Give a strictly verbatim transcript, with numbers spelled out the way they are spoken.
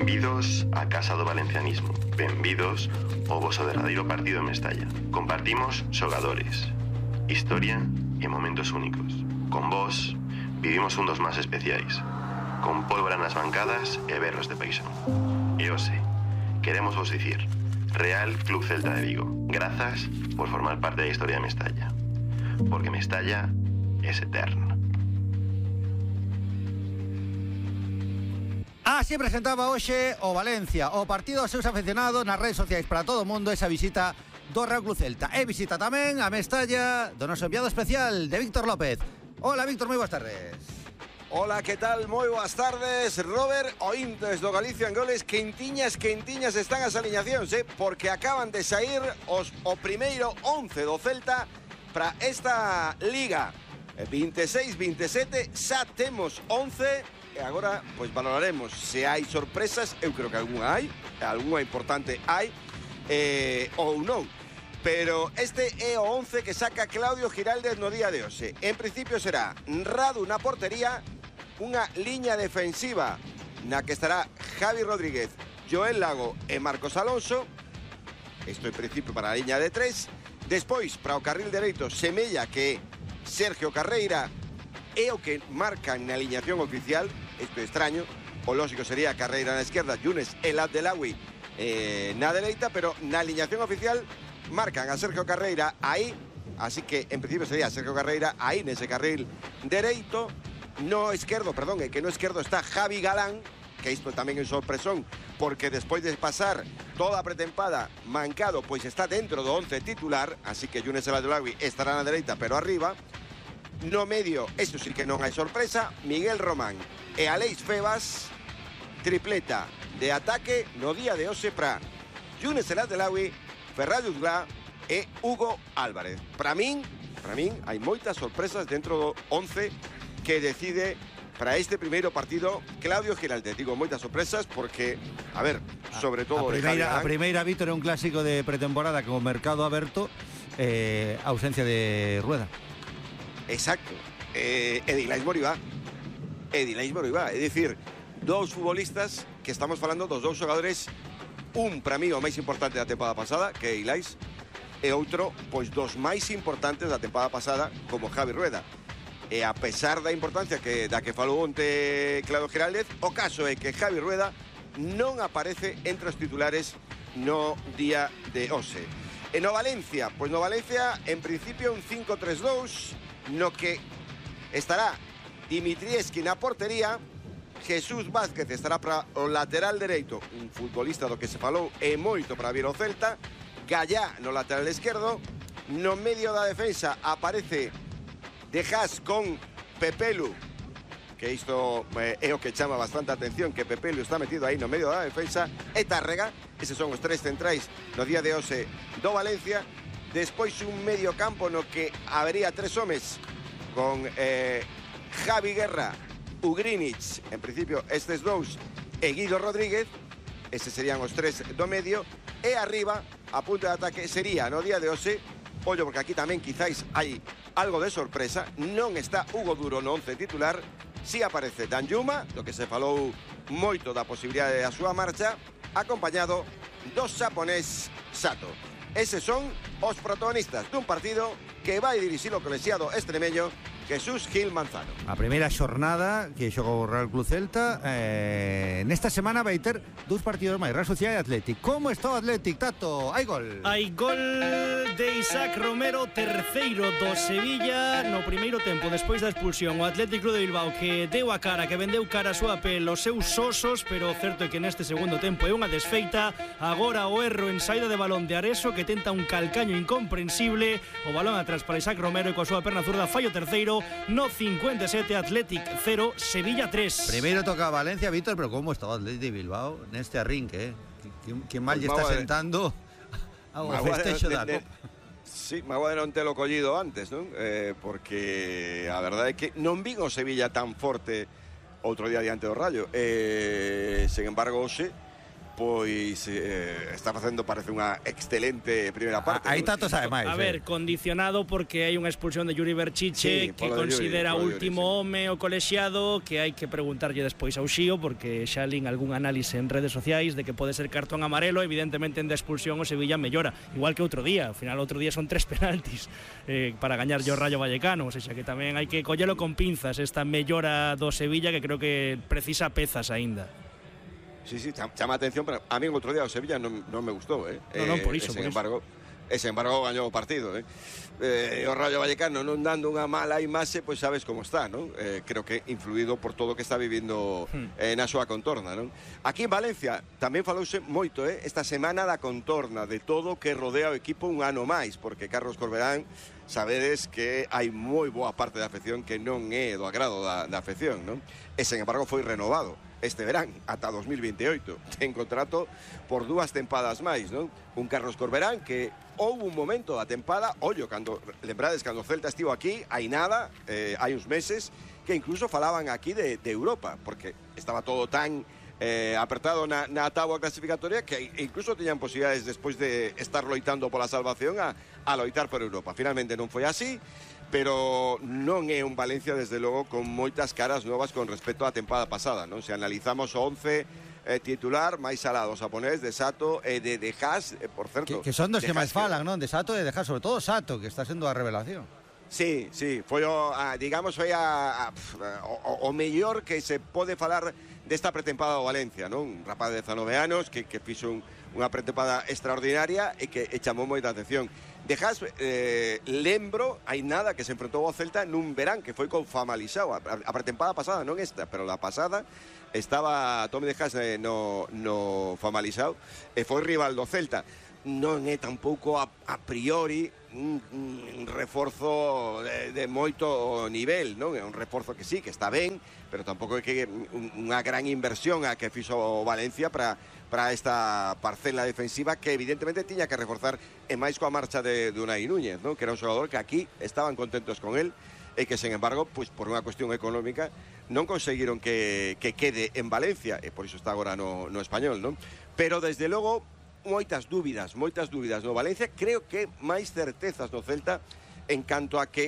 Benvidos a casa do valencianismo. Benvidos ao voso derradeiro partido en Mestalla. Compartimos xogadores, historia e momentos únicos. Con vos vivimos un dos máis especiais, con pólvora nas bancadas e berros de paixón. E hoxe, queremos vos dicir, Real Club Celta de Vigo, grazas por formar parte da historia de Mestalla. Porque Mestalla es eterna. Así presentaba hoxe o Valencia, o partido aos seus aficionados nas redes sociais para todo o mundo esa visita do Real Club Celta. E visita tamén a Mestalla do noso enviado especial de Víctor López. Hola Víctor, moi boas tardes. Hola, que tal? Moi boas tardes, Robert. Ointes do Galicia en Goles, quentiñas, quentiñas están as aliñacións, eh? Porque acaban de sair os, o primeiro once do Celta para esta Liga veintiséis veintisiete. Xa temos once e agora pois valoraremos se hai sorpresas. Eu creo que algunha hai, algunha importante hai, eh, ou non. Pero este é o once que saca Claudio Giraldez no día de hoxe. En principio será Radu na portería, unha liña defensiva na que estará Javi Rodríguez, Joel Lago e Marcos Alonso. Isto en principio para a liña de tres. Despois, para o carril dereito, semella que Sergio Carreira é o que marcan na aliñación oficial. Isto é extraño. O lógico sería Carreira na esquerda, Younes El Abdelawi eh, na dereita, pero na aliñación oficial marcan a Sergio Carreira aí, así que en principio sería Sergio Carreira aí nese carril dereito. No esquerdo, perdón, é que no esquerdo está Javi Galán, que isto tamén é sorpresón, porque despois de pasar toda a pretempada mancado, pois está dentro do once titular, así que Younes El Abdelawi estará na dereita, pero arriba. No medio, eso sí que non hai sorpresa, Miguel Román e Aleix Febas, tripleta de ataque no día de hoxe para Younes El Abdelawi, Ferran Jutgla e Hugo Álvarez. Para min, para min hai moitas sorpresas dentro do once que decide para este primeiro partido Claudio Giraldez. Digo moitas sorpresas porque, a ver, sobre todo a primeira, a primeira, Víctor, é un clásico de pretemporada con o mercado aberto, eh, ausencia de Rueda. Exacto, eh, Ediláis Moribá Ediláis Moribá, é dicir, dous futbolistas que estamos falando dos dous xogadores, un para mí o máis importante da temporada pasada, que é Ediláis, e outro, pois dos máis importantes da temporada pasada, como Javi Rueda. E a pesar da importancia que da que falou onte Claudio Giraldez, o caso é que Javi Rueda non aparece entre os titulares no día de hoxe. E no Valencia, pois no Valencia en principio un cinco tres dous, no que estará Dimitrievski na portería, Jesús Vázquez estará para o lateral dereito, un futbolista do que se falou e moito para vir o Celta, Gallá no lateral esquerdo. No medio da defensa aparece De Haas con Pepelu, que isto eh, é o que chama bastante atención, que Pepelu está metido aí no medio da defensa, e Tárrega. Eses son os tres centrais no día de hoxe do Valencia. Despois un medio campo no que habería tres homes con eh, Javi Guerra, Ugrinic, en principio estes dous, e Guido Rodríguez. Eses serían os tres do medio. E arriba, a punta de ataque, sería no día de hoxe, ollo porque aquí tamén quizáis hai algo de sorpresa, non está Hugo Duro no once titular, si aparece Danjuma, do que se falou moito da posibilidade da súa marcha, acompañado do xaponés Sato. Eses son os protagonistas dun partido que vai dirixir o colexiado extremeño Jesús Gil Manzano. A primeira xornada que xogou o Real Club Celta, eh, nesta semana vai ter dous partidos máis, Real Sociedade e Athletic. Como está o Athletic, Tato? Hai gol. Hai gol de Isaac Romero, terceiro do Sevilla no primeiro tempo, despois da expulsión. O Athletic Club de Bilbao que deu a cara, que vendeu cara a súa pel os seus osos, pero o certo é que neste segundo tempo é unha desfeita. Agora o erro en saída de balón de Areso, que tenta un calcaño incomprensible. O balón atrás para Isaac Romero e coa súa perna zurda fallo terceiro. No cincuenta e sete, Athletic cero, Sevilla tres. Primeiro toca a Valencia, Víctor, pero como está o Athletic de Bilbao neste arrinque, eh? Que, que mal lle está sentando ao festexo da Copa. Sí, me agua de non telo collido antes, non? Eh, porque a verdade é que non vin o Sevilla tan forte outro día diante do Rayo. Eh, sen embargo, hoxe, pois eh, está facendo, parece unha excelente primeira parte. Aí ¿no? Tato sabe máis. A eh. ver, condicionado porque hai unha expulsión de Yuri Berchiche, Sí, que polo de Yuri, considera polo de Yuri, último sí. home o colexiado, que hai que preguntarlle despois ao Xío, porque xa lín algún análise en redes sociais de que pode ser cartón amarelo. Evidentemente en de expulsión o Sevilla mellora, igual que outro día. Ao final outro día son tres penaltis eh, para gañar o Rayo Vallecano, o sea que tamén hai que collelo con pinzas esta mellora do Sevilla, que creo que precisa pezas aínda. Sí, sí, chama a atención, pero a mí en outro día o Sevilla non, non me gustou, eh? No, non, por iso, e, por sen iso. embargo, e sen embargo gañou o partido, eh? eh o Rayo Vallecano non dando unha mala imaxe, pois sabes como está, non? Eh, creo que influído por todo o que está vivindo hmm. eh, na súa contorna, non? Aquí en Valencia tamén falouse moito, eh? Esta semana da contorna, de todo o que rodea o equipo un ano máis, porque Carlos Corberán, sabedes que hai moi boa parte da afección que non é do agrado da, da afección, non? E sen embargo foi renovado este verán, ata dos mil veintioito. Ten contrato por dúas tempadas máis, non? Un Carlos Corberán que houve un momento da tempada, ollo, cando, lembrades, cando o Celta estivo aquí, hai nada, eh, hai uns meses, que incluso falaban aquí de, de Europa, porque estaba todo tan eh, apertado na, na táboa clasificatoria que incluso teñan posibilidades, despois de estar loitando pola salvación, a, a loitar por Europa. Finalmente non foi así, pero non é un Valencia, desde logo, con moitas caras novas con respecto á tempada pasada, non? Se analizamos o once eh, titular, máis alá do japonés, de Sato e de De Haas, eh, por certo... Que, que son dos que De máis Haas falan, non? De Sato e de Haas, sobre todo Sato, que está sendo a revelación. Sí, sí, foi o, a, digamos, foi a, a, o, o mellor que se pode falar desta pretempada do Valencia, non? Un rapaz de dezanove anos que, que fixo un, unha pretempada extraordinaria e que e chamou moita atención. De Haas, eh, lembro, hai nada, que se enfrentou ao Celta nun verán, que foi con Famalisao, a, a pretempada pasada, non esta, pero la pasada estaba Tommy De Haas eh, no, no Famalisao e foi rival do Celta. Non é tampouco a, a priori un, un reforzo de, de moito nivel, non? É un reforzo que sí, que está ben, pero tampouco é que un, unha gran inversión a que fixo o Valencia para para esta parcela defensiva que evidentemente tiña que reforzar, e máis coa marcha de, de Unai Núñez, non? Que era un xogador que aquí estaban contentos con él e que, sen embargo, pues, por unha cuestión económica non conseguiron que, que quede en Valencia, e por iso está agora no, no Español, non? Pero, desde logo, moitas dúbidas, moitas dúbidas no Valencia, creo que máis certezas no Celta en canto a que